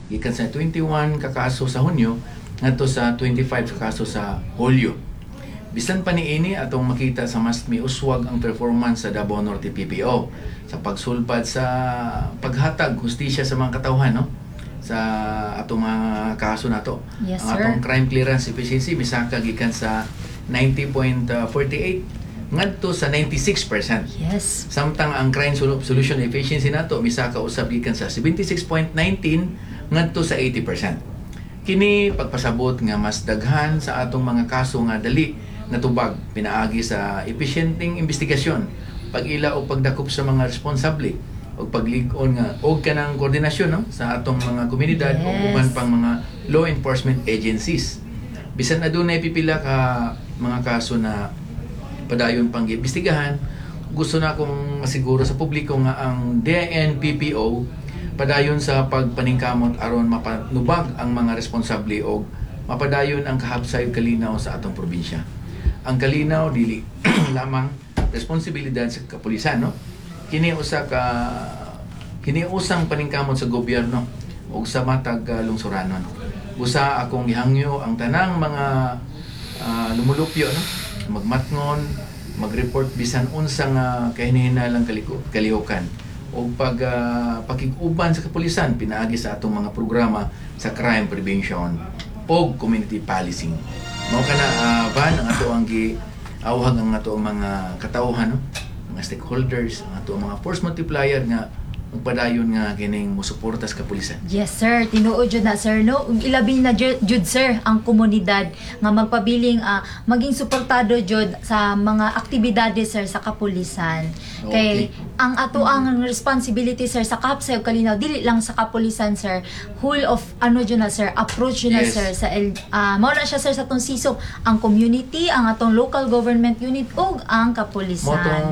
Gikan sa 21 ka kaso sa Hunyo ngadto sa 25 ka kaso sa Hulyo. Bisan pa niini, atong makita sa mas miuswag ang performance sa Davao Norte PPO sa pagsulpad sa paghatag hustisya sa mga katawhan, no, sa atong mga kaso nato. Ang atong crime clearance efficiency misaka gikan sa 90.48 ngadto sa 96%. Samtang ang crime solution efficiency nato misaka usab gikan sa 76.19 ngadto sa 80%. Kini pagpasabot nga mas daghan sa atong mga kaso nga dali natubag pinaagi sa epesyenteng investigasyon, pag-ila o pagdakop sa mga responsable o paglig-on nga og kanang koordinasyon, no, sa atong mga komunidad o uban pang mga law enforcement agencies. Bisan adunay pipila ka mga kaso na padayon pang giimbestigahan, gusto na akong masiguro sa publiko nga ang DNPPO padayon sa pagpaningkamot aron mapanubag ang mga responsable og mapadayon ang kahabsay ug kalinaw sa atong probinsya. Ang kalinaw dili lamang responsibilidad sa kapulisan, no? Kini usang paningkamot sa gobyerno ug sa matag lungsuranon. Busa akong gihangyo ang tanang mga lumulupyo, no, magmatngon, mag-report bisan unsa nga kahinihinalang kalihukan o pag pakig-uban sa kapulisan pinaagi sa atong mga programa sa crime prevention o community policing. Mao kana, Van, ang ato ang gi awhag ang ato ang mga katawhan, no, mga stakeholders, ang ato ang mga force multiplier nga magpadayon nga kining mosuporta sa kapulisan. Yes, sir. Tinuod jud na, sir, no. Ug ilabi na jud, sir, ang komunidad nga magpabiling maging suportado jud sa mga aktibidades, sir, sa kapulisan. Kay ang ato ang responsibility, sir, sa kahapsay ug kalinaw dili lang sa kapulisan, sir. Whole of ano jud na, sir, approach jud na, sir, sa mao na siya, sir, sa atong sisop ang community, ang atong local government unit ug ang kapulisan. Mao tong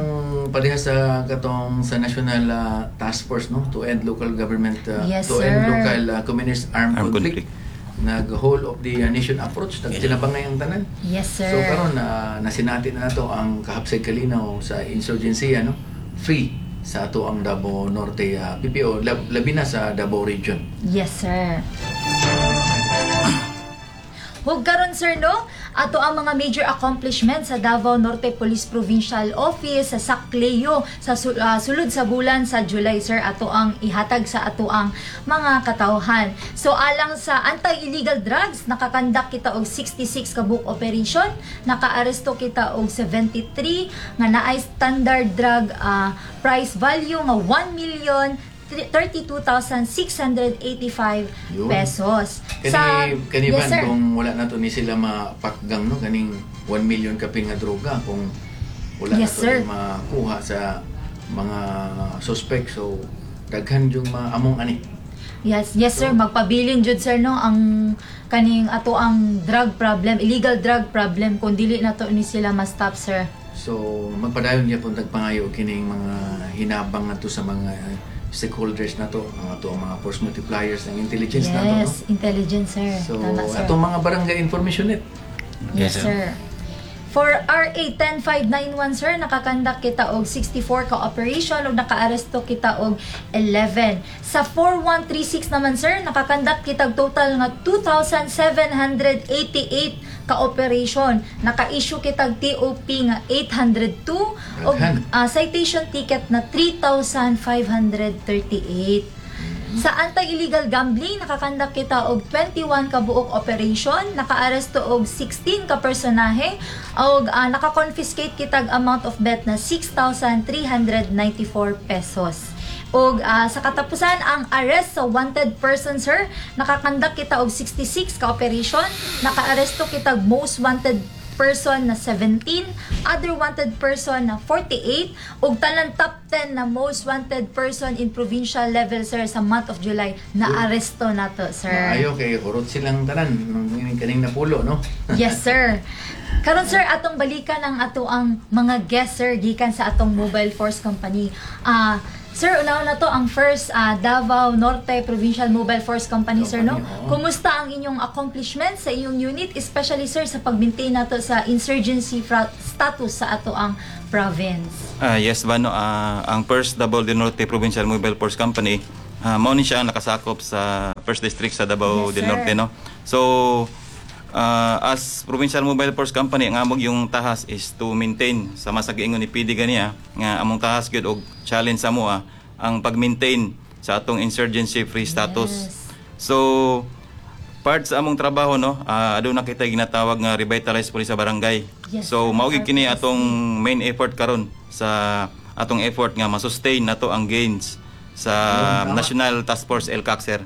pareha sa katong sa National Task Force, no, to end local government to end local communist armed Armed conflict. conflict. Nag whole of the nation approach, nagtinabangay ang tanan. Yes, sir. So karon na nasinati na nato ang kahapsay kalinaw sa insurgency, ano, free sa ato ang Davao Norte PPO, labi na sa Davao Region. Yes, sir. Hug karon, sir, no, ato ang mga major accomplishments sa Davao Norte Police Provincial Office sa Sacleo sa sulod sa bulan sa July, sir, ato ang ihatag sa ato ang mga katawhan. So alang sa anti-illegal drugs, nakakandak kita og 66 ka buok operation, nakaaresto kita og 73 nga naay standard drug price value nga 1 million 32,685 Yun. pesos. Kani kani Yes, Van, sir. Kung wala na to ni sila mapakgang, no, kaning 1 million kapin nga droga, kung wala na to sir. ni makuha sa mga suspect, so daghan yung maamong ani. Yes, sir, magpabilin jud, sir, no, ang kaning ato ang drug problem, illegal drug problem, kung dili na to ni sila ma-stop, sir. So magpadayon gyapon tagpangayo kining mga hinabang nato sa mga stakeholders nato, ang ato ang mga force multipliers ng intelligence nato, no? Yes, intelligence, sir. So Tama, sir. atong mga barangay information net. Yes, Yes, sir. For RA 10591, sir, nakakandak kita og 64 ka operation ug nakaaresto kita og 11. Sa 4136 naman, sir, nakakandak kita og total nga 2,788 ka operation. Naka-issue kita og TOP nga 802 ug Daghan. Citation ticket na 3,538. Sa anti-illegal gambling, nakakandak kita og 21 ka buok operation, nakaaresto og 16 ka personahe, og naka-confiscate kita og amount of bet na 6,394 pesos. Og sa katapusan, ang arrest sa wanted person, sir, nakakandak kita og 66 ka operation, nakaaresto kita og most wanted person na 17, other wanted person na 48, ug tanan top 10 na most wanted person in provincial level, sir, sa month of July na aresto nato, sir. Maayo kay hurot silang tanan nung kaning napulo, no? Yes, sir. Karon, sir, atong balikan ang ato ang mga guests, sir, gikan sa atong Mobile Force Company. Sir, una na to ang first Davao Norte Provincial Mobile Force Company, sir, no? Company, oo. Kumusta ang inyong accomplishment sa inyong unit, especially, sir, sa pag-maintain nato sa insurgency status sa ato ang province? Yes, Bano, ang First Davao del Norte Provincial Mobile Force Company Mao ni siya ang nakasakop sa First District sa Davao Yes, del sir. Norte, no. So as Provincial Mobile Force Company, ang among yung tahas is to maintain sa masag-ingon ni PD ganiya nga among tahas gyud og challenge sa amoa ang pag-maintain sa atong insurgency free status. So part sa among trabaho, no, aduna kita ginatawag nga revitalized police sa barangay. So Yes, sir. mao gyud kini RPSB. Atong main effort karon sa atong effort nga ma-sustain nato ang gains sa National Task Force ELCAC, sir.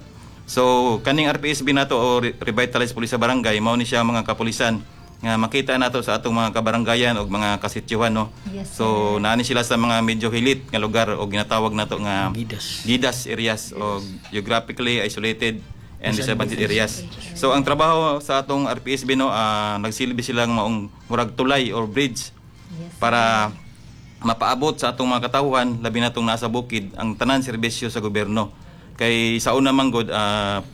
So kaning RPSB nato o Revitalized Police sa Barangay, mao ni siya mga kapulisan nga makita nato sa atong mga kabaranggayan o mga kasityuhan, no. So naani sila sa mga medyo hilit nga lugar o ginatawag nato nga Gidas. Gidas areas o geographically isolated and disadvantaged areas. So ang trabaho sa atong RPSB, no, nagsilbi silang maong murag tulay or bridge para mapaabot sa atong mga katawhan, labi na tong nasa bukid, ang tanan serbisyo sa gobyerno. Kay sa una man gud,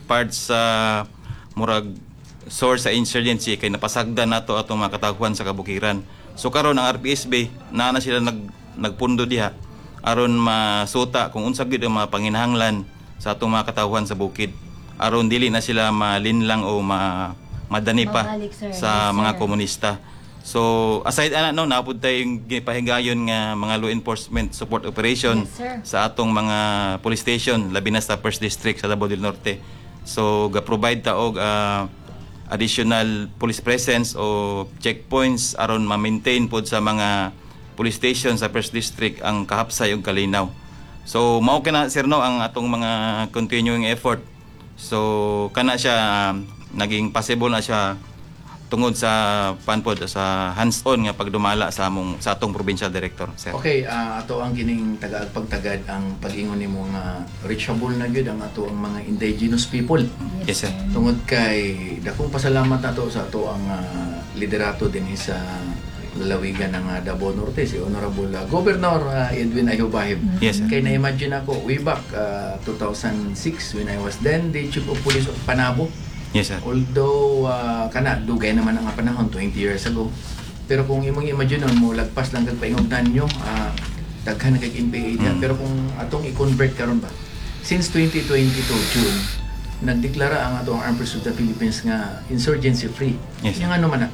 part sa murag source sa insurgency kay napasagdan nato atong mga katawhan sa kabukiran. So karon ang RPSB naa na sila nagpundo diha aron masuta kung unsa gyud ang mga panginahanglan sa atong mga katawhan sa bukid aron dili na sila malinlang o madani pa Mabalik, sir. sa Yes, mga sir. komunista. So aside ana, no, napud tayong gipahigayon nga mga law enforcement support operation Yes, sir. sa atong mga police station, labi na sa First District sa Davao del Norte. So ga-provide ta og additional police presence o checkpoints aron ma-maintain pod sa mga police station sa First District ang kahapsay ug kalinaw. So mao kana, sir, no, ang atong mga continuing effort. So kana siya naging possible na siya tungod sa panpod sa hands-on nga pagdumala sa atong provincial director, sir. Okay, ato ang kining tagaag pagtagad ang pag-ingon nimo nga reachable na gyud ang ato ang mga indigenous people. Yes, sir. Tungod kay dakong pasalamat nato sa ato ang liderato dinhi sa lalawigan ng Davao Norte, si Honorable Governor Edwin Ayubahib. Yes, sir. Kay na-imagine ako way back 2006 when I was then the Chief of Police of Panabo. Yes, sir. Although kana dugay naman ang panahon, 20 years ago. Pero kung imong imagine mo lagpas lang kag paingog nyo, daghan na kag NPA diha. Pero kung atong i-convert karon ba? Since 2022 June, nagdeklara ang atong Armed Forces of the Philippines nga insurgency free. Yes, sir. Yung ano man na,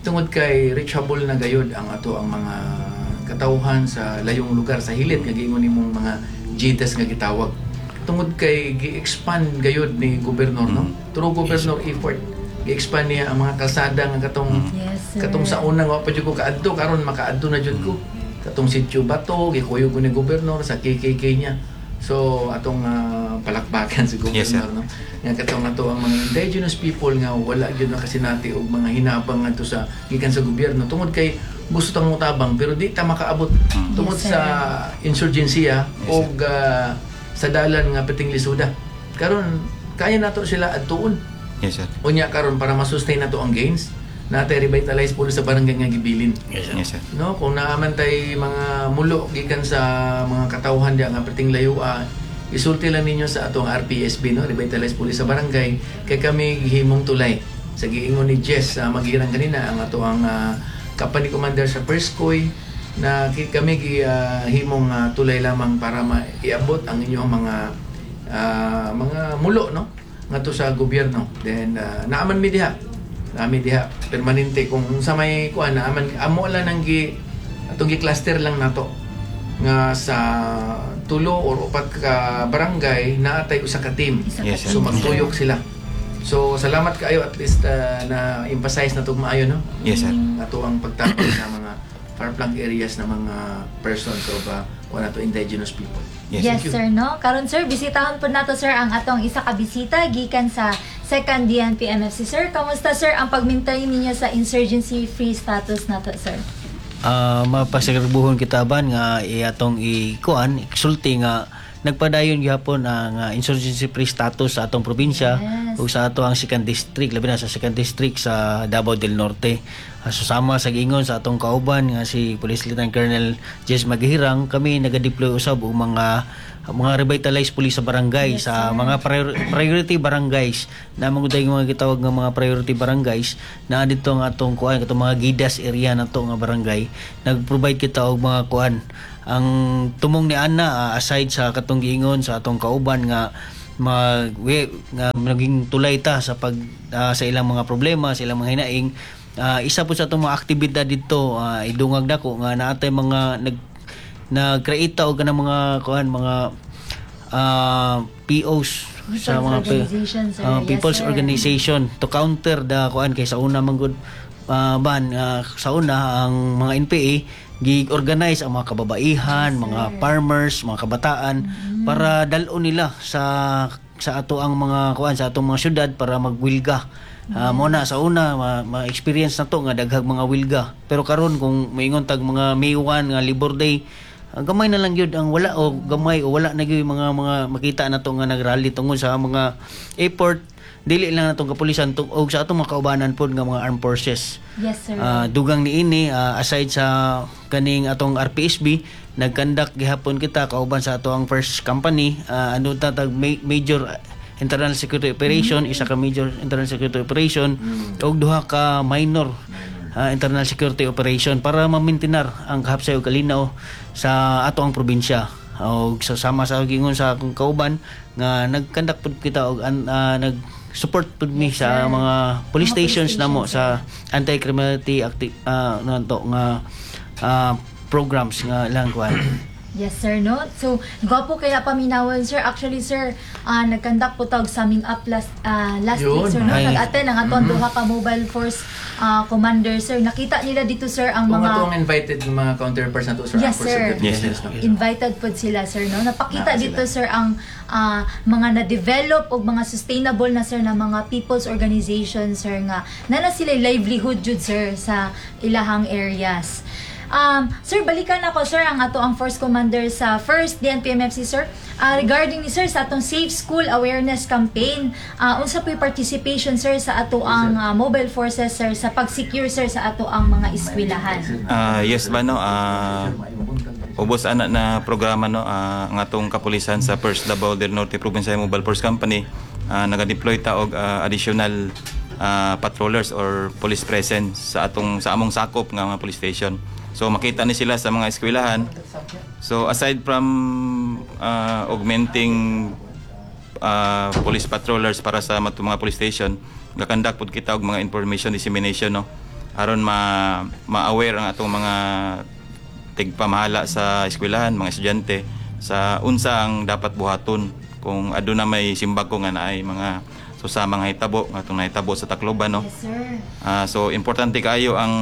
tungod kay reachable na gayod ang ato ang mga katawhan sa layong lugar, sa hilit nga giingon nimong mga GIDAS nga gitawag, tungod kay gi-expand gayod ni gobernador, no, through governor effort, gi-expand niya ang mga kalsada nga katong Yes, sir. katong sa una nga wa pa jud ko kaadto, karon makaadto na jud ko. Katong Sitio Bato, gikuyog ko ni gobernador sa KKK niya. So atong palakpakan si Yes, sir. gobernador, no, nga katong ato ang mga indigenous people nga wala gyud nakasinati og mga hinabang ngadto sa gikan sa gobyerno tungod kay gusto tang motabang pero di ta makaabot tungod Yes, sir. sa insurgency Yes, sir. og sa dalan nga perting lisuda. Karon kaya nato sila adtuon. Yes, sir. Unya karon, para ma-sustain nato ang gains, natay revitalize police sa barangay nga gibilin. Yes, sir. Yes, sir. No, kung naaman tay mga mulo gikan sa mga katawhan diya nga perting layo, isulti lang ninyo sa atong RPSB, no, Revitalize Police sa Barangay, kay kami gihimong tulay. Sa giingon ni Jess sa Magirang kanina, ang ato ang company commander sa First Coy, na kami gihimong tulay lamang para maiabot ang inyong mga mulo, no, ngadto sa gobyerno. Then naaman mi diha, nami diha permanente kung sa may kuan naaman amo lang ang gi atong gi-cluster lang nato nga sa tulo or upat ka barangay naatay usa ka team. Isa ka Yes, sir. So team. magtuyok sila. So salamat kaayo, at least na emphasize na maayo, no. Yes, sir. Ato ang pagtapang sa mga far-flung areas na mga persons of kuan ato indigenous people. Yes. Yes, Thank you. sir, no? Karon, sir, bisitahon po nato, sir, ang atong isa ka bisita gikan sa second DNP MFC. Sir, kamusta, sir, ang pag-maintain ninyo sa insurgency free status nato, sir? Mapasagarbuhon kita ban nga atong ikuan isulti nga nagpadayon gihapon ang insurgency free status sa atong probinsya ug sa ato ang second district, labi na sa second district sa Davao del Norte. So sama sa giingon sa atong kauban nga si Police Lieutenant Colonel Jess Maghirang, kami naga-deploy usab og mga mga revitalized police sa barangay, sa mga priority barangays na mga mga gitawag nga mga priority barangays na dito ang atong kuan, katong mga Gidas area nato nga barangay, nag-provide kita og mga kuan. Ang tumong ni ana, aside sa katong giingon sa atong kauban nga nga naging tulay ta sa pag sa ilang mga problema, sa ilang mga hinaing, isa po sa atong mga aktibidad dito, idungag nako nga naatay mga nag-create ta og kanang mga kuan, mga POs sa People's mga organization, sir. Yes, people's sir. Organization to counter the kuan, kay sa una man gud, ban, sa una ang mga NPA gi-organize ang mga kababaihan, mga farmers, mga kabataan para dal-on nila sa ato ang mga kuan, sa atong mga syudad para magwilga. Mo na sa una ma-experience na to nga daghang mga wilga. Pero karon kung moingon tag mga May 1 nga Labor Day, gamay na lang gyud ang wala o gamay o wala na gyud mga makita na to nga nagrally tungod sa mga effort dili lang natong kapulisan og sa atong mga kaubanan pod nga mga armed forces. Yes, sir. Dugang niini, aside sa kaning atong RPSB, nagkandak gihapon kita kauban sa ato ang first company, ano ta tag major internal security operation, isa ka major internal security operation ug duha ka minor internal security operation para ma-maintain-ar ang kahapsay ug kalinaw sa ato ang probinsya. Og sa sama sa gingon sa akong kauban nga nagkandak pud kita og nag support pud mi sa mga police Mga police stations namo stations, sa anti-criminality ano to nga programs nga ilang kuan. Yes, sir, no? So, gwapo kaya paminawon, sir. Actually, sir, nagkandak po tawag summing up last last Yun. week, sir, no? Ay. Nag-attend ang atong duha ka mobile force commander, sir. Nakita nila dito, sir, ang Kung mga ato ang invited ng mga counterparts nato, sir, Yes, ang force sir. of the business, no? Invited po sila, sir, no? Napakita Naa dito, sila. sir, ang mga na-develop o mga sustainable na, sir, na mga people's organization, sir, nga na sila livelihood jud, sir, sa ilahang areas. Sir, balikan ako, sir, ang ato ang force commander sa first DNPMFC, sir. Regarding ni sir sa atong Safe School Awareness Campaign, unsa po yung participation, sir, sa ato ang mobile forces, sir, sa pag-secure, sir, sa ato ang mga eskwelahan? Yes ba, no? Ubos ana na programa, no, ang atong kapulisan sa First Davao del Norte Provincial Mobile Force Company, naga-deploy ta og additional patrollers or police presence sa atong sa among sakop nga mga police station. So makita ni sila sa mga eskwelahan. So aside from augmenting police patrollers para sa mga police station, gakandak pud kita og mga information dissemination, no, aron ma ma-aware ang atong mga tigpamahala sa eskwelahan, mga estudyante, sa unsa ang dapat buhaton kung aduna may simbako nga naay mga susamang hitabo nga atong nahitabo sa Tacloban, no. Yes, sir. So importante kaayo ang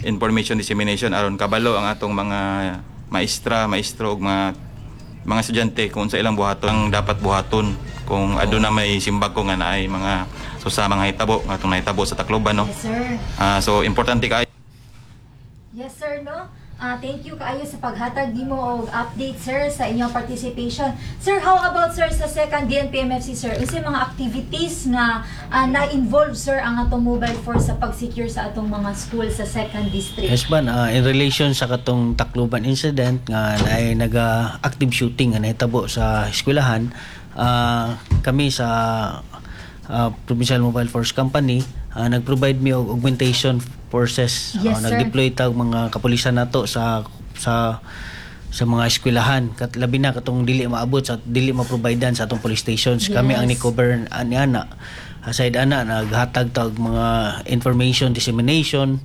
information dissemination aron kabalo ang atong mga maestra, maestro ug mga estudyante kung unsa ilang buhaton ang dapat buhaton kung aduna may simbako nga naay mga susamang hitabo nga atong nahitabo sa Tacloban, no. Yes, sir. So importante kaayo. Yes, sir, no? Thank you kaayo sa paghatag nimo og update, sir, sa inyong participation. Sir, how about, sir, sa second DNPMFC, sir? Unsay mga activities nga na-involve, sir, ang atong mobile force sa pag-secure sa atong mga school sa second district? Yes ban, in relation sa katong Tacloban incident nga naay naga active shooting nga nahitabo sa eskwelahan, kami sa Provincial Mobile Force Company, nag-provide mi og augmentation forces. Yes, sir. Nag-deploy tag mga kapulisan nato sa mga eskwelahan kat labi na katong dili maabot sa dili ma-providean sa atong police stations. Kami ang ni-cover ani ana. Aside ana, naghatag tag mga information dissemination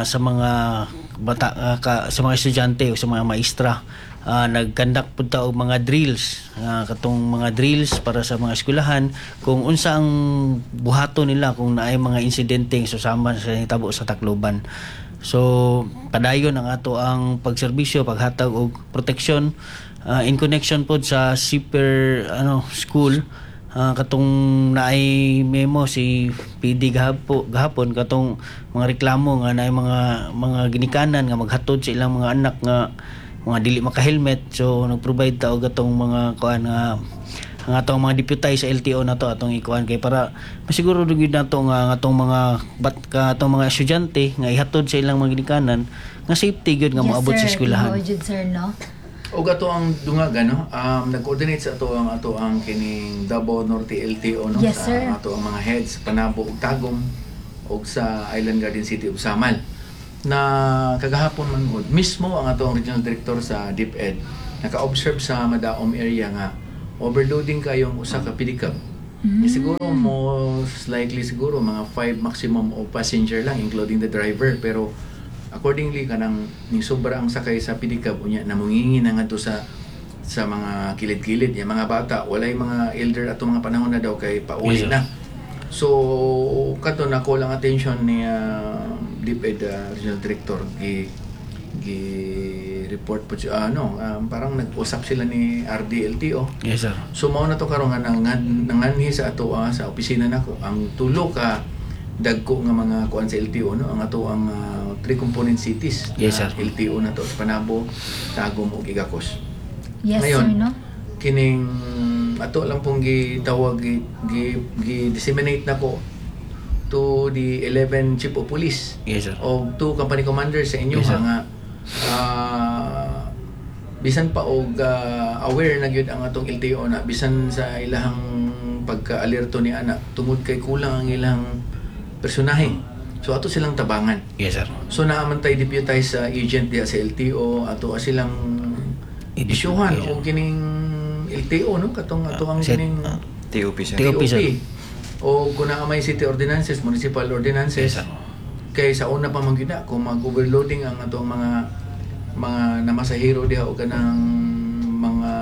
sa mga bata, sa mga estudyante o sa mga maestra. Nagkandak pud ta og mga drills, katong mga drills para sa mga eskwelahan kung unsa ang buhaton nila kung naay mga insidente susama sa nitabo sa Tacloban. So padayon ang ato ang pagserbisyo, paghatag og proteksyon, in connection pod sa super ano school, katong naay memo si PD gahapon katong mga reklamo nga naay mga ginikanan nga maghatod sa ilang mga anak nga mga dili maka-helmet. So nag-provide ta og atong mga kuan nga ang atong mga deputize sa LTO nato atong ikuan kay para masiguro gyud nato nga ang atong mga bat ka atong mga estudyante nga ihatod sa ilang mga ginikanan nga safety gyud nga moabot sa eskwelahan. Tinuod jud, sir, no? Og ato ang dungaga, no, nag-coordinate sa ato ang kining Davao Norte LTO, no, Yes, sa sir. ato ang mga heads Panabo ug Tagum ug sa Island Garden City ug Samal na kagahapon man gud mismo ang ato ang regional director sa DepEd naka-observe sa Madaom area nga overloading kayong usa ka pedicab. Siguro most likely siguro mga 5 maximum o passenger lang including the driver, pero accordingly kanang ning sobra ang sakay sa pedicab, unya namungingi na ngadto sa mga kilid-kilid yung mga bata, walay mga elder ato mga panahon na daw kay pauli Yes, sir. na. So kato nako lang attention ni DepEd regional director, gi gi report po siya, ano, parang nag-usap sila ni RDLTO. Yes, sir. So mao na to karon nga nanganhi sa ato sa opisina nako ang tulo ka dagko nga mga kuan sa LTO, no, ang ato ang three component cities Yes, na sir. LTO na to sa Panabo, Tagum ug Igacos. Yes, Ngayon, sir, no? kining ato lang pong gitawag, gi disseminate nako to the 11 chief of police Yes, sir. o two company commanders sa inyo Yes, sir. nga bisan pa og aware na gyud ang atong LTO na bisan sa ilahang pagka-alerto ni ana tungod kay kulang ang ilang personahe, so ato silang tabangan. Yes, sir. So naa man tay deputize sa agent diha sa LTO, ato silang isyuhan og kining LTO, no, katong ato ang kining TOP, sir. TOP, sir. O kung naa may city ordinances, municipal ordinances. Yes, sir. Kay sa una pa man gyud na kung mag-overloading ang atong mga namasahero diha o kanang mga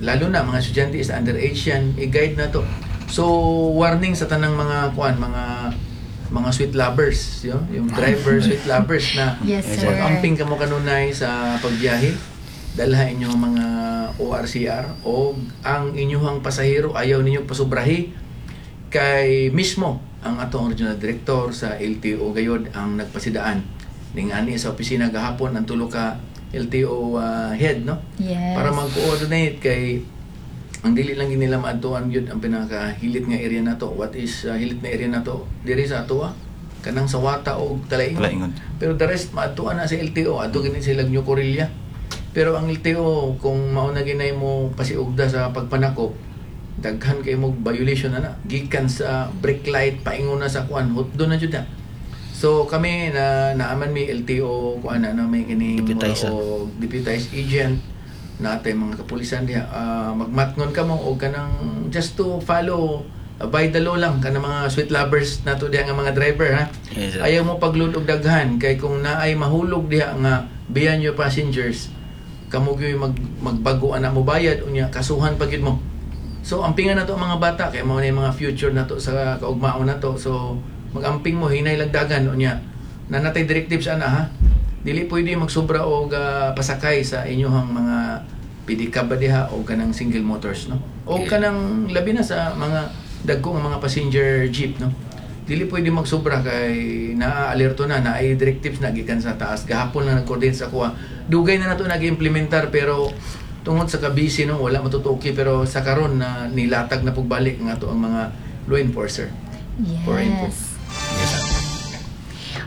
lalo na mga estudyante is underage yan, i-guide na to. So warning sa tanang mga kuan, mga sweet lovers yun, yung driver sweet lovers na Yes, sir. mag-amping kamo kanunay sa pagbiyahe, dalha inyong mga ORCR o ang inyuhang pasahero, ayaw ninyo pasubrahi kay mismo ang atong regional director sa LTO gayod ang nagpasidaan ning ani sa opisina gahapon ang tulo ka LTO head, no, para mag-coordinate kay ang dili lang nila maadtuan gyud ang pinakahilit nga area nato. What is hilit na area nato diri sa atoa? Kanang sa Wata o Talaingon. Talaingon. Pero the rest maadtuan na sa LTO, adto gini sila New Corilla. Pero ang LTO, kung mauna ginay mo pasiugda sa pagpanakop, daghan kay mo violation na na gikan sa brake light paingon na sa kuan, hutdo na jud na. So kami na naaman may LTO kuan na, na may kining Deputize, o deputized agent natay mga kapulisan diha. Magmatngon ka mo o kanang just to follow, by the law lang kanang mga sweet lovers nato diha nga mga driver, ha. Yes, sir. Ayaw mo pagload og daghan kay kung naay mahulog diha nga beyond your passengers, kamo gyud mag magbago ana mo bayad, unya kasuhan pa gyud mo. So ampingan nato ang mga bata kay mao na yung mga future nato sa kaugmaon nato. So magamping mo, hinay lagdagan, unya nanatay directives ana, ha. Dili pwede magsobra og pasakay sa inyong mga pedicab ba diha o kanang single motors, no, o kanang labi na sa mga dagko nga mga passenger jeep, no. Dili pwede magsobra kay naa-alerto na, naay directives na gikan sa taas. Gahapon lang nag-coordinate sa kuha. Dugay na nato nag-implementar pero tungod sa kabisi, no, wala matutuki, pero sa karon na nilatag na pagbalik ang ato ang mga law enforcer for info. Yes.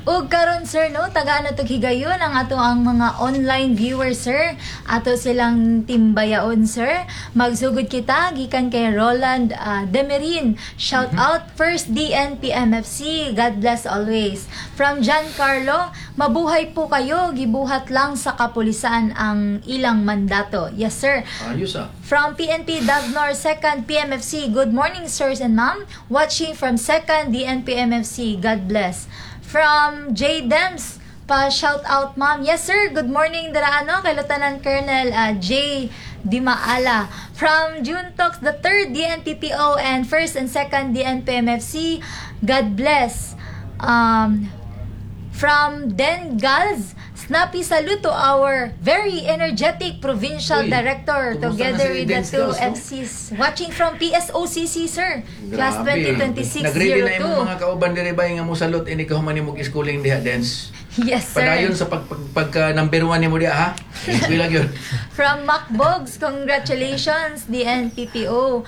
Ug karon, sir, no, tagaan na tog higayon ang ato ang mga online viewers, sir. Ato silang timbayaon, sir. Magsugod kita gikan kay Roland Demerin. Shout out first DNPMFC. God bless always. From John Carlo, mabuhay po kayo. Gibuhat lang sa kapulisan ang ilang mandato. Yes, sir. Ayos ah. From PNP Davnor 2nd PMFC, good morning, sirs and ma'am. Watching from 2nd DNPMFC, God bless. From J. Dems, pa shout out, ma'am. Yes sir, good morning dira ano kay Lieutenant Colonel J. Dimaala. From June Talks, the 3rd DNPPO and 1st and 2nd DNPMFC, God bless. From Den Gals, snappy salute to our very energetic provincial Uy, director kumusta na together si with the Den two Gals, no? FCs. Watching from PSOCC, sir. Class Grabe. 2026-02. Nag-ready na imong mga kauban diri ba nga mo salute ini kahuman nimo schooling diha, Dens. Yes, sir. Padayon sa pagka number 1 nimo diha, ha. Bilag yun. From Mac Bogs, congratulations, DNPPO.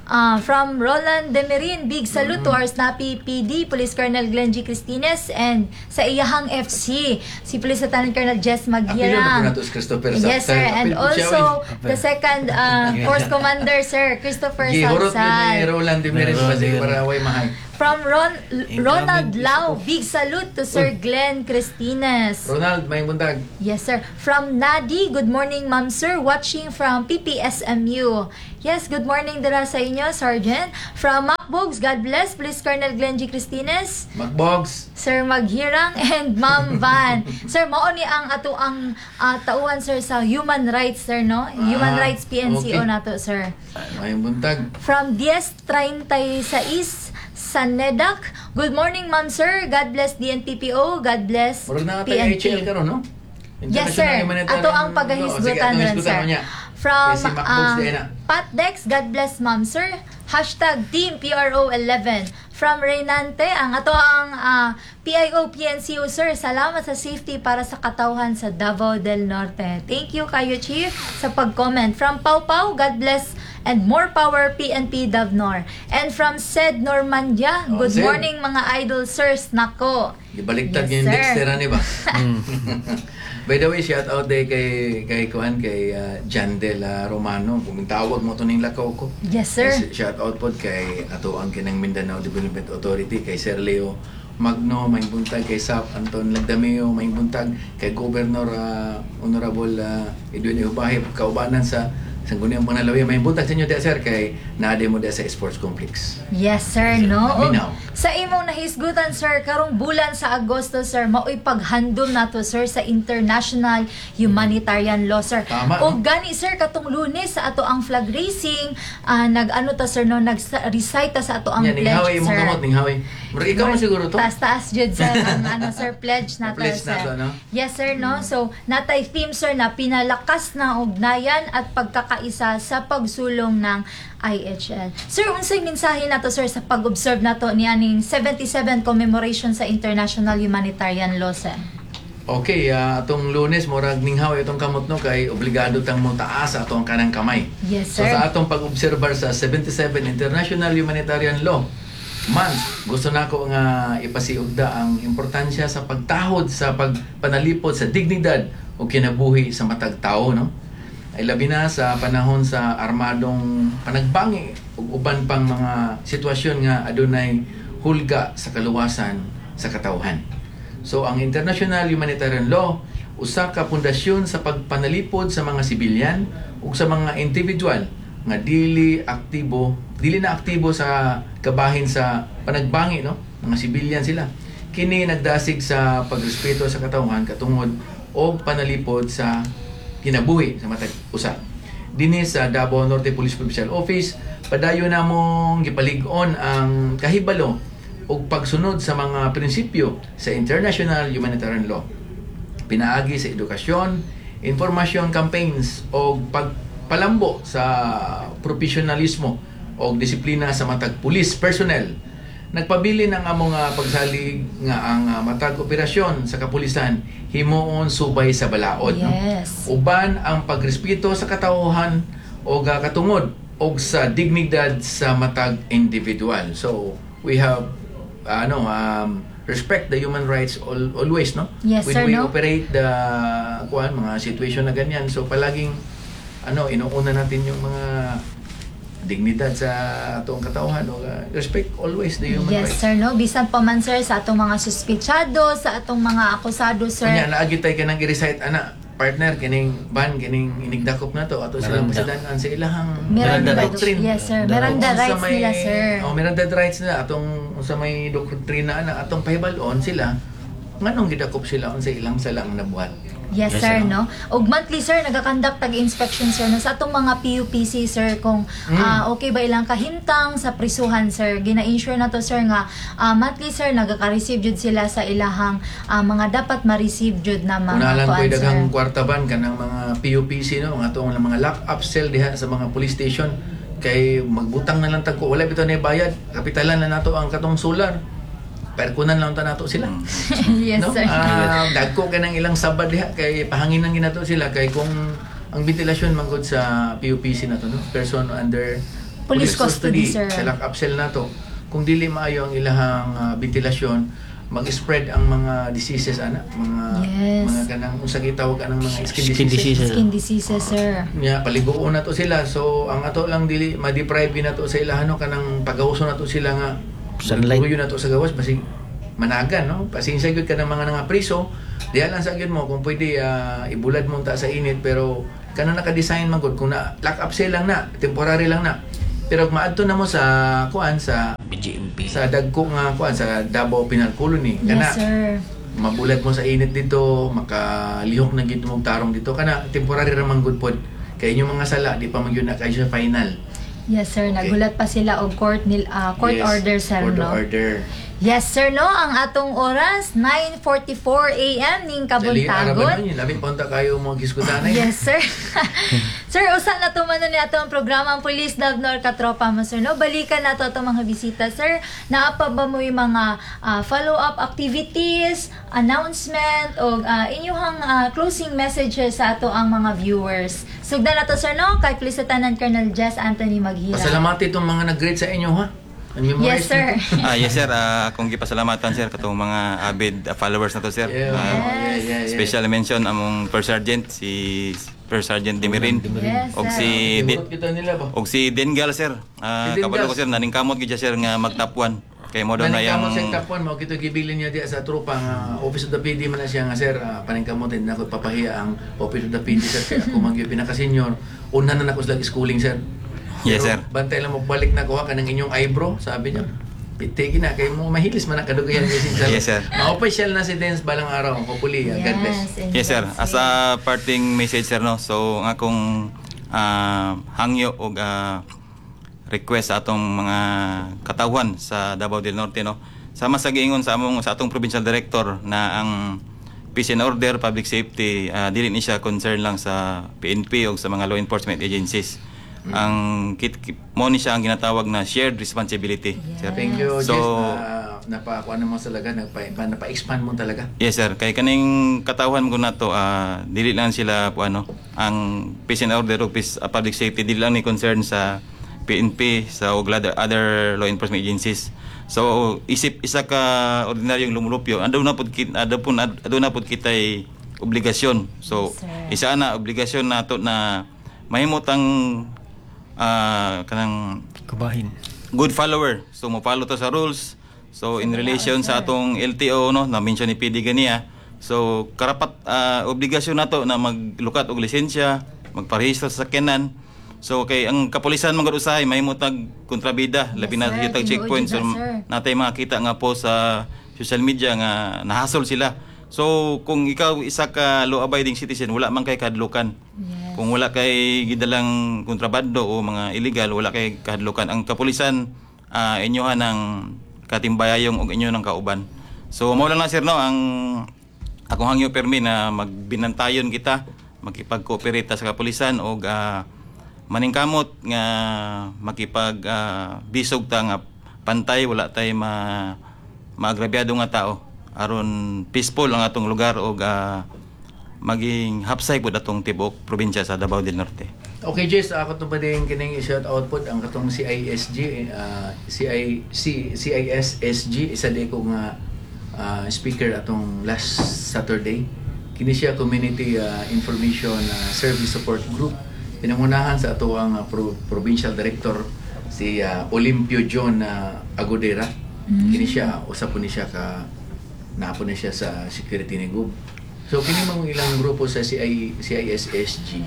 From Roland Demerin, big salute to our Snappy PD, Police Colonel Glenn G. Cristines, and sa iyahang FC, si Police Lieutenant Colonel Jess Apilon na po Maghirang. nato si Christopher Yes, sir. Sapsal. And Apil po siya, also, oy. the second Force Commander, Sir Christopher Gihurot yun ni Salsal. Roland Demerin Roland pa sige Demerin. para way mahay. From Ronald Incoming Lau, big salute to Sir Glenn Cristines. Ronald, may buntag. Yes, sir. From Nadi, good morning, ma'am, sir. Watching from PPSMU. Yes, good morning dira sa inyo, Sergeant. From Macbogs, God bless. Police Colonel Glenn G. Cristines. Macbogs. Sir Maghirang and Ma'am Van. Sir, mao ni ang ato ang tauhan, sir, sa human rights, sir, no? Human Rights PNCO nato, sir. May buntag. From Diez 36 Sanedak. Good morning, ma'am, sir. God bless DNPPO. God bless Murag na tayo PNP. HL karon, no? Yes, sir. Humanitarian Ato ang Law. Sige, pagahisgutan atong ron, hisgutan sir. mo niya. From Kay si Macbogs diay na. Pat Dex, God bless, ma'am, sir. #TeamPRO11. From Reynante, ang ato ang PIO PNCO, sir. Salamat sa safety para sa katawhan sa Davao del Norte. Thank you kayo, Chief, sa pag-comment. From Pau Pau, God bless and more power PNP Davnor. And from Sed Normandia, Oh, good Sed. morning, mga idol sirs nako. Gibaliktad Yes, yung sir. Dexter ni ba? By the way, shout out day kay kay kuan kay Jandel Romano. Kung tawag mo to ning lakaw ko. Yes, sir. Shout out pod kay ato ang kinang Mindanao Development Authority, kay Sir Leo Magno, may buntag kay Sap Anton Lagdameo, may buntag kay Governor Honorable Edwin Ehubahe, kaubanan sa Sangguniang Panalawi. May buntag sa inyo diya, sir, kay naade mo diya sa Sports Complex. Yes, sir, no? Og Naminaw. sa imong nahisgutan, sir, karong bulan sa Agosto, sir, mao'y paghandom nato, sir, sa International Humanitarian Law, sir. Tama, Og no? gani, sir, katong Lunes sa ato ang flag raising, nag-ano ta, sir, no, nag-recite ta sa ato ang Nya, pledge, ninghaway imong sir. kamot, ninghaway. Murag ikaw man siguro to. Taas-taas jud, sir, ang ano, sir, pledge nato, Pledge sir. nato, no? Yes, sir, no? So, natay theme, sir, na pinalakas na ugnayan at pagkakaisa sa pagsulong ng IHL. Sir, unsay mensahe nato, sir, sa pag-observe nato ni aning 77 commemoration sa International Humanitarian Law, sir? Okay, atong Lunes murag ninghaw itong kamot, no, kay obligado tang mo taas ato ang kanang kamay. Yes, So sir. sa atong pag-obserbar sa 77 International Humanitarian Law Month, gusto nako nga ipasiugda ang importansya sa pagtahod sa pagpanalipod sa dignidad o kinabuhi sa matag tao, no? Ay labi na sa panahon sa armadong panagbangi ug uban pang mga sitwasyon nga adunay hulga sa kaluwasan sa katawhan. So ang International Humanitarian Law usa ka pundasyon sa pagpanalipod sa mga sibilyan ug sa mga individual nga dili na aktibo sa kabahin sa panagbangi, no, mga sibilyan sila. Kini nagdasig sa pagrespeto sa katawhan katungod og panalipod sa kinabuhi sa matag usa. Dinhi sa Davao Norte Police Provincial Office, padayon namong gipalig-on ang kahibalo ug pagsunod sa mga prinsipyo sa International Humanitarian Law pinaagi sa edukasyon, information campaigns o pagpalambo sa profesionalismo o disiplina sa matag police personnel. Nagpabilin ang among pagsalig nga ang matag operasyon sa kapulisan himuon subay sa balaod, no? Uban ang pagrespeto sa katawhan o katungod og sa dignidad sa matag individual. So we have ano respect the human rights always, no? Yes, When sir, we no? operate the kuan mga situation na ganyan. So palaging ano inuuna natin yung mga dignidad sa atong katawhan o respect always the human Yes, rights. sir, no? Bisan pa man, sir, sa atong mga suspitsado, sa atong mga akusado, sir. Kunya naagi tay kanang gi-recite ana, partner, kining ban kining inigdakop na to ato silang Miranda. pasidan sa ilahang Miranda Miranda rights. doctrine. Yes, sir. Miranda Miranda Unsa rights nila, sir. Oh, Miranda rights nila atong unsa may doktrina ana atong pahibal-on sila nganong gidakop sila unsa ilang salang nabuhat. Yes, Yes, sir, sir. no? Og monthly, sir, nagakandak tag inspection, sir, no, sa atong mga PUPC, sir, kung okay ba ilang kahimtang sa prisuhan, sir. Gina-ensure na to, sir, nga monthly, sir, nagaka-receive jud sila sa ilahang mga dapat ma-receive jud na mga Unalan kuan, ko'y daghang sir. kwarta ban kanang mga PUPC, no, mga atong mga lock up cell diha sa mga police station kay magbutang na lang tag ko wala bitaw na bayad, kapitalan na nato ang katong solar, perkunan lang ta nato sila. Yes, No? sir. Dagko kay nang ilang sabad diha kay pahanginan ginato sila kay kung ang ventilasyon manggod sa PUPC na to, no, person under Police custody, sir. Sa lock up cell nato. Kung dili maayo ang ilahang ventilasyon, mag-spread ang mga diseases ana, mga mga kanang unsa gitawag anang mga skin Skin diseases. diseases. Skin diseases, sir. Nya paliguon na to sila. So ang ato lang, dili ma-deprive na to sa ilahan, no, kanang pagawso na to sila nga Sunlight. Tuyo na to sa gawas, basig managan, no. Pasensya gyud ka ng mga nga priso. Diha lang sa gyud mo kung pwede, ibulad mo ta sa init, pero kanang naka-design man gud kung na lock up cell lang na, temporary lang na. Pero kung maadto na mo sa kuan, sa BGMP. sa dagko nga kuan, sa Davao Penal Colony, kana Yes, sir. mabulad mo sa init dito, makalihok na gid mong tarong dito, kana temporary ra man gud pod kay inyong mga sala di pa man gyud na kayo siya final. Yes, sir. Okay. Nagulat pa sila og court order, sir, court no? order. Yes, sir, no? Ang atong oras, 9:44 a.m. ning Dali, araban kabuntagon. man yun. Labi pa unta kayo mga gisgutanay. Yes, sir. Sir, usa na tumano ni ato ang programa ang Police Davnor Katropa mo, sir, no? Balikan nato atong mga bisita, sir. Naa pa ba mo yung mga follow-up activities, announcement, o inyong closing messages sa ato ang mga viewers? Sugdan nato, sir, no? Kay Police Lieutenant Colonel Jess Anthony Maghira. Pasalamati itong mga nag-greet sa inyo, ha? Ang Yes, sir. Yes, sir, akong gipasalamatan, sir, katong mga avid followers na to, sir. Yeah. Special mention among First Sergeant, si First Sergeant Demirin. Yes, Og sir. si Timurot kita nila ba? Og si Dengal, sir. Si Dengal. Kabalo ko, sir, naningkamot gid siya, sir, nga mag-top 1. Kay mo daw na yang Paningkamot sa top 1 mo kito gibilin niya diya sa tropa nga Office of the PD man na siya nga, "Sir, paningkamot din ako papahiya ang Office of the PD, sir, kay ako man gyud pinaka-senior. Una na nako sila schooling, sir." Yes, Pero sir. bantay lang mo, balik na kuha ka ng inyong eyebrow, sabi niya. Pitegi na kay mo mahilis man ang kadugayan kasi sa Yes, sir. Ma-official na si Dance balang araw. Hopefully, God bless. And Yes, sir. God's As a parting message, sir, no. So ang akong hangyo og request sa atong mga katawhan sa Davao del Norte, no. Sama sa giingon sa atong provincial director na ang peace and order, public safety, dili ni siya concern lang sa PNP o sa mga law enforcement agencies. Ang kit, mo ni siya ang ginatawag na shared responsibility, sir. Thank you, So, Jess. Na napakuha mo talaga, napa-expand mo talaga. Yes, sir, kay kaning katawhan mo nato, dili lang sila po ano, ang peace and order o peace, public safety dili lang ni concern sa PNP sa og other law enforcement agencies. So isip isa ka ordinaryong lumulupyo, aduna pud kitay obligasyon. So Yes, sir. isa na obligasyon nato na mahimot ang kanang Kabahin. Good follower. So mo follow to sa rules. So in relation sa atong LTO, no, na mention ni PD ganiya. So karapat, obligasyon nato na maglukat og lisensya, magparehistro sa sakyanan. So kay ang kapulisan man gud usahay mahimo tag kontrabida, labi na Sir. sa tag Tinuod checkpoint. So jud na, sir. natay makita nga po sa social media nga nahasol sila. So kung ikaw isa ka law abiding citizen, wala man kay kahadlukan. Kung wala kay gidalang kontrabando o mga illegal, wala kay kahadlukan. Ang kapulisan, inyohan ng katimbayayong og inyo ng kauban. So mao lang na, sir, no, ang akong hangyo permi na magbinantayon kita, makipag-cooperate ta sa kapulisan og maningkamot nga makipag bisog ta nga pantay, wala tay ma maagrabyado nga tao aron peaceful ang atong lugar og maging hapsay pud atong tibuok probinsya sa Davao del Norte. Okay, Jess, ako to pa din kining i-shout out pod ang katong CISG, CIC, CISSG, isa di ko nga speaker atong last Saturday. Kini siya Community Information Service Support Group. Pinangunahan sa ato ang provincial director, si Olimpio John Agudera. Kini siya usa po ni siya ka naapo ni siya sa security ni Gub. So kini mga ilang grupo sa CI, CISSG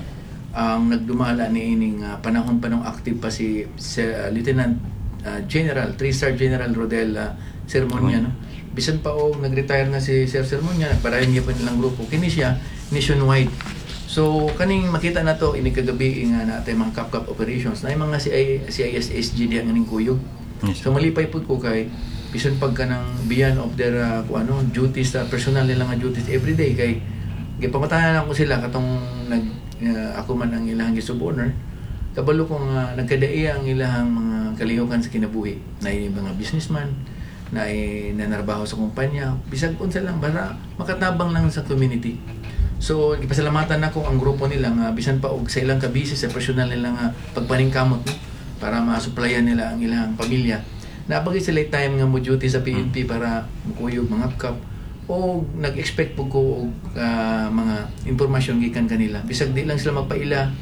ang nagdumala ni ining panahon pa nung active pa si Lieutenant General, 3-star General Rodel Sermonia, no? Bisan pa og nag-retire na si Sir Sermonia, nagpadayon gyud pa nilang grupo. Kini siya nationwide. So kaning makita na to ini kagabi nga natay mga kapkap operations na mga CI, CISSG diha nga ning kuyog. So malipay pud ko kay bisan pag kanang beyond of their kung ano duties sa personal nila nga duties everyday, kay gipangutanan ako sila katong nag ako man ang ilang gisub-owner, kabalo ko nga nagkadaiya ang ilahang mga kalihukan sa kinabuhi na mga businessman na nanarbaho sa kumpanya, bisag unsa lang para makatabang lang sa community. So gipasalamatan nako ang grupo nila nga bisan pa og sa ilang kabisi sa personal nila nga pagpaningkamot, no. Para masuplayan nila ang ilang pamilya. Naa pa gyud sila time nga mo duty sa PNP para mukuyog mga kap o nag-expect po ko og mga impormasyon gikan kanila. Bisag di lang sila magpaila,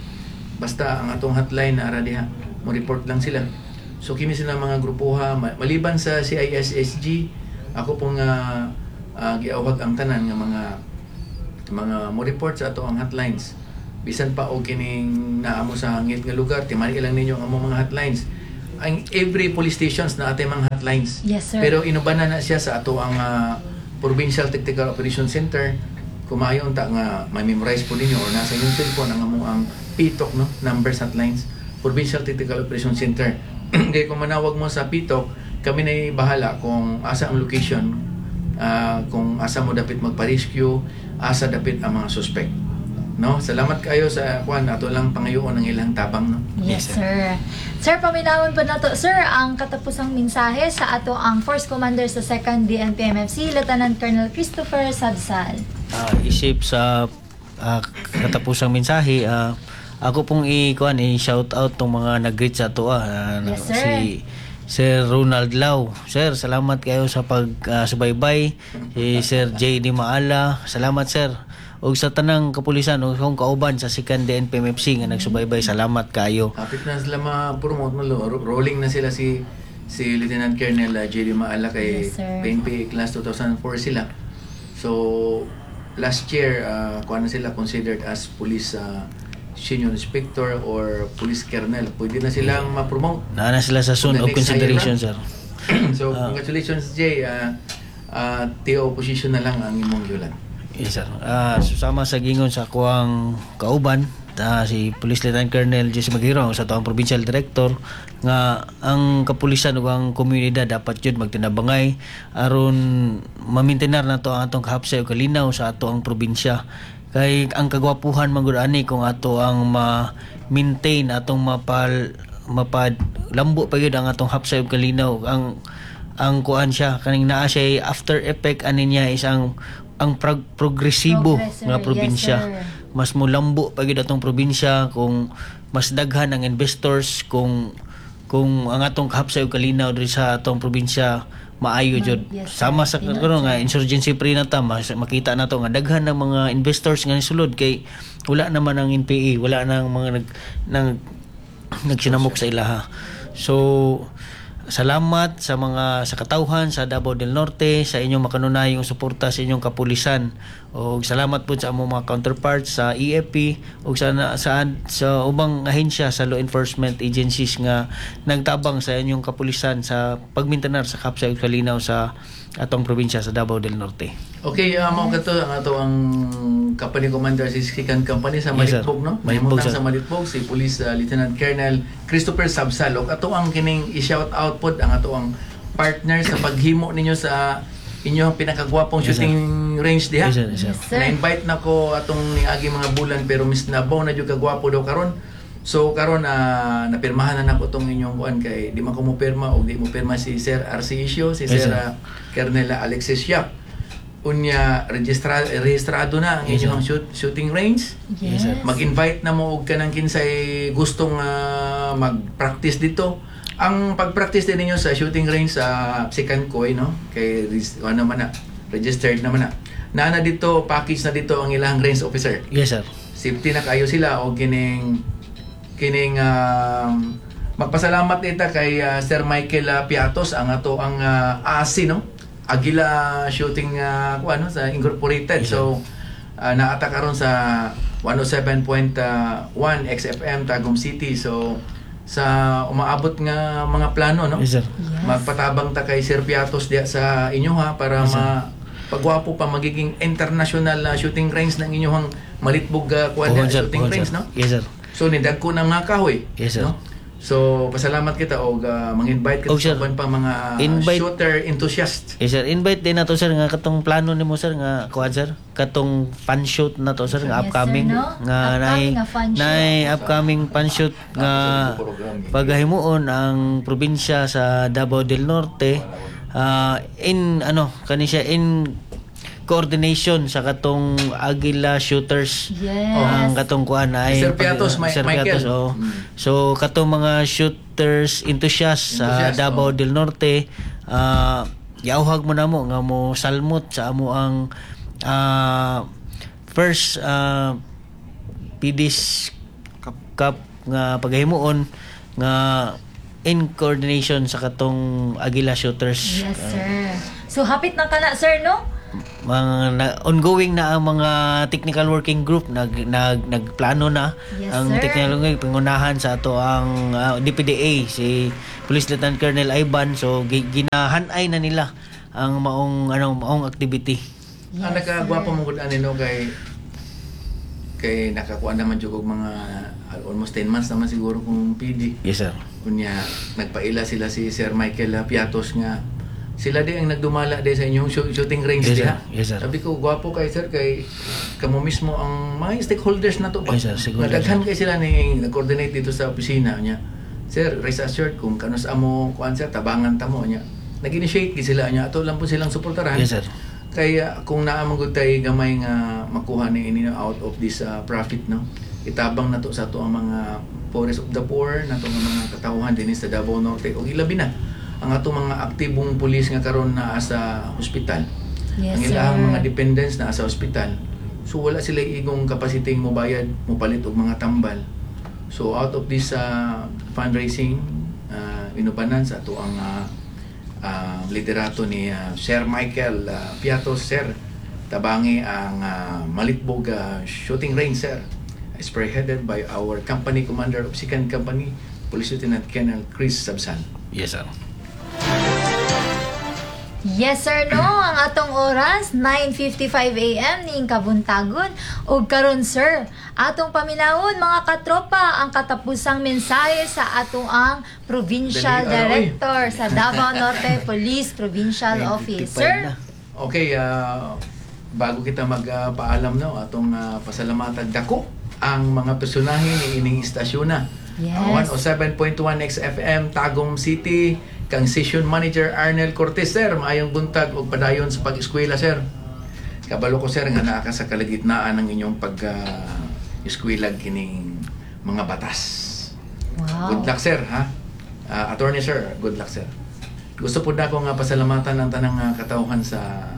basta ang atong hotline na ara diha, mo report lang sila. So kini sila mga grupoha maliban sa CISSG, ako pong giawhag ang tanan nga mga mo report sa ato ang hotlines. Bisan pa og kining naa mo sa hangit nga lugar, timani lang ninyo ang among mga hotlines. Ang every police stations naa tay mga hotlines. Yes, sir. Pero inubanan na siya sa ato ang Provincial Tactical Operation Center. Kumayo unta nga ma-memorize po ninyo or nasa inyong cellphone ang among ang PTOC, no, numbers, hotlines, Provincial Tactical Operation Center. Kaya kung manawag mo sa PTOC, kami na bahala kung asa ang location, kung asa mo dapit magpa-rescue, asa dapit ang mga suspect, no? Salamat kayo sa kuan, ato lang pangayoon ang ilang tabang, no? Yes, Yes, sir. Sir, paminawon po nato, sir, ang katapusang mensahe sa ato ang Force Commander sa 2nd DNPMFC, Lieutenant Colonel Christopher Sabsal. Isip sa katapusang mensahe, ako pong i-kuan, i-shout out tong mga nag-greet sa ato Yes, sir. si Sir Ronald Lau. Sir, salamat kayo sa pag subaybay. Si Sir J.D. Maala, salamat, sir. Ug sa tanang kapulisan ug akong kauban sa 2nd DNPMFC nga nagsubaybay, salamat kayo. Hapit na sila ma-promote mo, rolling na sila si si Lieutenant Colonel J.D. Maala kay Yes, sir. PNP class 2004 sila. So last year, kuan na sila, considered as police senior inspector or police colonel. Pwede na silang ma-promote. Naa na sila sa zone The of next consideration, higher sir. So congratulations, Jay. TO position na lang ang imong gihulat. Yes, sir. Susama sa gingon sa akuang kauban, si Police Lieutenant Colonel Jesse Maghiro sa tuang Provincial Director, nga ang kapulisan ug ang komunidad dapat jud magtinabangay aron mamintenar nato ang atong kahapsay ug kalinaw sa ato ang probinsya, kay ang kagwapuhan man gud ani kung ato ang ma-maintain, atong mapal mapad lambo pa gyud ang atong hapsay ug kalinaw. Ang kuan siya kaning naa siya after effect ani niya is ang progresibo Progress, sir. nga probinsya. Yes, sir. Mas mulambo pa gyud atong probinsya kung mas daghan ang investors, kung ang atong kahapsay ug kalinaw diri sa atong probinsya maayo jud. Yes, sir. Sama sa karon nga insurgency free na ta, mas makita nato nga daghan ng mga investors nga nisulod kay wala naman ang NPA, wala nang mga nag nang nagsinamok sa ilaha. So salamat sa mga sa katawhan sa Davao del Norte sa inyong makanunayong suporta sa inyong kapulisan. Og salamat po sa among mga counterparts sa AFP ug sa ubang ahensya sa law enforcement agencies nga nagtabang sa inyong kapulisan sa pagmintenar sa kapsay ug kalinaw sa atong probinsya sa Davao del Norte. Okay, mao kato ang ato ang company commander si Second Company sa Yes, sir. Malitbog, no? Malitbog, Mahimutang sir. sa Malitbog si Police Lieutenant Colonel Christopher Sabsal. Og ato ang kining i-shout out pod ang ato ang partner sa paghimo ninyo sa inyong pinakagwapong Yes, sir. shooting range diha. Yes, sir. Yes, sir. Yes, sir. Na-invite na ko atong niagi mga bulan pero miss nabaw na jud kagwapo daw karon. So karon napirmahan na nako tong inyong kuan kay di man ko mo pirma og di mo pirma si Sir RC Isio, si Yes, Sir sir. Colonel Alexis Yap. Unya rehistrado na ang Yes, inyong shooting range. Yes. Yes, sir. Mag-invite na mo og kanang kinsay gustong mag-practice dito. Ang pag-practice din ninyo sa shooting range sa Second Koy, no? Kay ano man na, registered naman na. Naa na dito, package na dito ang ilang range officer. Yes, sir. Safety na kayo sila o kining kining magpasalamat ita kay Sir Michael Piatos, ang ato ang ASI, no, Agila Shooting kuan, no, sa Incorporated. Yes, so naata karon sa 107.1 XFM Tagum City. So sa umaabot nga mga plano, no, Yes, sir. Yes. magpatabang ta kay Sir Piatos diya sa inyo ha para Yes, sir. ma pagwapo pa magiging international na shooting range ng inyong Malitbog kuan Pohon, diya, sir. shooting Pohon, range sir. no. Yes, sir. So nidagko na mga kahoy. Yes, sir. No? So pasalamat kita og mang-invite kita Og, sir, sa uban pa mga shooter enthusiast. Yes, sir, invite din nato, sir, nga katong plano nimo, sir, nga kuan, sir, katong fun shoot na to, sir, nga Yes, sir, upcoming no? nga Upcoming nay nga fun shoot. nay upcoming fun shoot nga paghimuon ang probinsya sa Davao del Norte, in ano kani siya in coordination sa katong Agila Shooters. Ang katong kuan ay Sir Piatos, Sir Michael. Piatos, oh. So katong mga shooters enthusiasts sa Enthusiast, Davao oh. del Norte, giauhag mo namo nga mo salmot sa amo ang first PD's Cup nga paghimuon nga in coordination sa katong Agila Shooters. Yes, sir. So, hapit na ka na, sir, no? Mga ongoing na ang mga technical working group, nag nag nagplano na ang sir. technical working pangunahan sa ato ang DPDA, si Police Lieutenant Colonel Ivan. So ginahanay na nila ang maong ano, maong activity. Ang nakagwapo mo gud ani, no, kay kay nakakuha naman jud og mga almost 10 months naman siguro kung PD. Yes, sir. Unya nagpaila sila si Sir Michael Piatos nga sila di ang nagdumala di sa inyong shooting range Yes, sir. diha. Yes, sir. Sabi ko, gwapo kay sir, kay kamo mismo ang mga stakeholders na to ba. Yes, sir. Siguro, Nagdaghan kay sila ni nag-coordinate dito sa opisina niya. "Sir, rest assured kung kanus amo kuan, sir, tabangan ta mo." Niya. Nag-initiate gid sila niya. Ato lang po silang suportaran. Yes, sir. Kaya kung naa man gud tay gamay nga makuha ni ini out of this profit, no, itabang nato sa ato ang mga poorest of the poor nato nga mga katawhan dinhi sa Davao Norte ug ilabi na ang atong mga aktibong pulis nga karon naa sa ospital, ang ilahang mga dependents naa sa ospital, so wala sila igong capacity mo bayad, mopalit og mga tambal. So out of this fundraising, inubanan sa ato ang liderato ni Sir Michael Piatos. Sir, tabangi ang Malitbog Shooting Range, sir, spearheaded by our company commander of Second Company, Police Lieutenant Colonel Chris Sabsan. Yes, sir. Yes, sir, no. Ang atong oras, 9:55 a.m. ning kabuntagon. Ug karon, sir, atong paminawon, mga katropa, ang katapusang mensahe sa atong ang Provincial Dali, aroy. Director sa Davao Norte Police Provincial Office. 9:55 Sir, na. Okay, bago kita magpaalam, no, atong pasalamatan dako ang mga personahe ni ining istasyon na. 107.1 XFM Tagum City, kang station manager Arnel Cortez. Sir, maayong buntag ug padayon sa pag-eskwela, sir. Kabalo ko, sir, nga naa ka sa kalagitnaan ng inyong pag eskwela kining mga batas. Good luck, sir, ha. Attorney sir, good luck, sir. Gusto po na ako nga pasalamatan ang tanang katawhan sa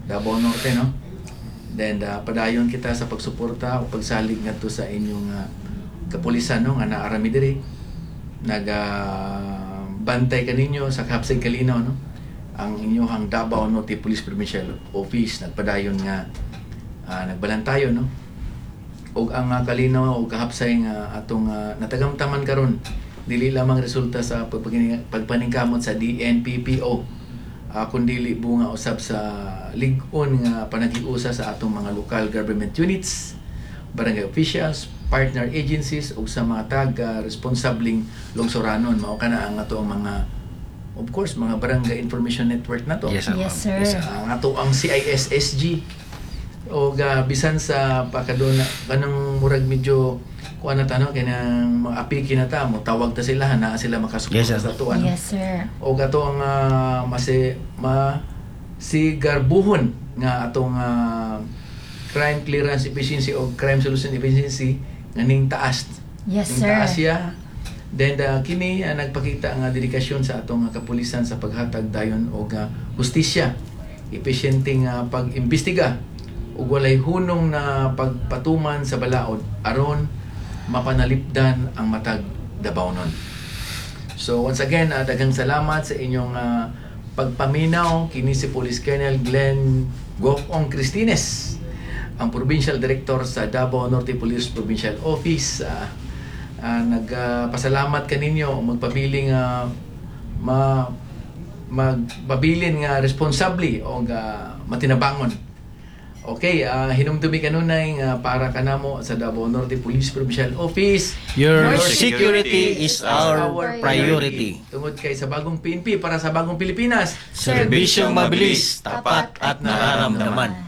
Davao Norte, no? Then padayon kita sa pagsuporta o pagsalig ngadto sa inyong kapulisan, no, nga naarami diri. Naga bantay kaninyo sa kahapsay kalinaw, no? Ang inyong Davao Norte Police Provincial Office nagpadayon nga nagbalantayon, no? Og ang kalinaw o kahapsay nga atong natagamtaman karon dili lamang resulta sa pagpaningkamot sa DNPPO, kundili bunga usab sa lig-on nga panaghiusa sa atong mga local government units, barangay officials, partner agencies ug sa mga tag responsableng lungsoranon. Mao kana ang ato ang mga, of course, mga barangay information network na to. Yes, sir. Yes, sir. Yes, sir. Ang ato ang CISSG o bisan sa pakaduna kanang murag medyo kuan na ta, no, kanang mga apiki na ta mo tawag ta sila, naa sila makasuporta Yes, sir. sa ato ano. Yes, sir. O ato ang masi ma si garbuhon nga atong crime clearance efficiency o crime solution efficiency nga ning taas. Ning taas siya. Then kini nagpakita nga dedikasyon sa atong kapulisan sa paghatag dayon og hustisya, epesyente nga pag-imbestiga ug walay hunong na pagpatuman sa balaod aron mapanalipdan ang matag Dabaonon. So once again, daghang salamat sa inyong pagpaminaw. Kini si Police Colonel Glenn Gokong Cristines, ang Provincial Director sa Davao Norte Police Provincial Office. Nagpasalamat kaninyo, magpabiling ma magpabilin nga responsably o matinabangon. Okay, hinumdumi kanunay nga para kanamo sa Davao Norte Police Provincial Office, Your Your security is our priority. Tungod kay sa bagong PNP para sa bagong Pilipinas. Serbisyong mabilis, tapat at nararamdaman.